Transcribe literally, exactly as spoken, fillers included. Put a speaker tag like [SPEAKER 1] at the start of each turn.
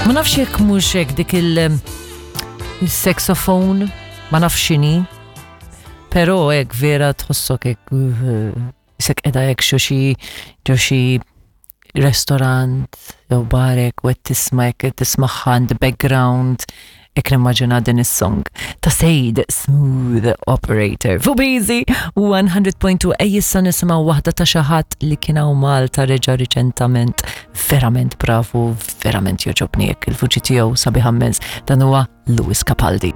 [SPEAKER 1] Ma nafx jekk mhux hekk dik il- il-saxophone, ma nafx x'inhi. Però hekk vera tħossok hekk uh, isek qiegħda hekk xo xi ġo xi restaurant jew barek u qed tisma' hekk tismagħha in the background, hekk nimmaġina din is-song ta' Sejd, "Smooth Operator". Fuq Busy one hundred point two, ej issa nisimgħu waħda ta' xi ħadd li kien hawn Malta reġa' riċentament. Verament bravu, verament jogħġobni hekk il-vuċi tiegħu sabiħa immens. Dan huwa Lewis Capaldi.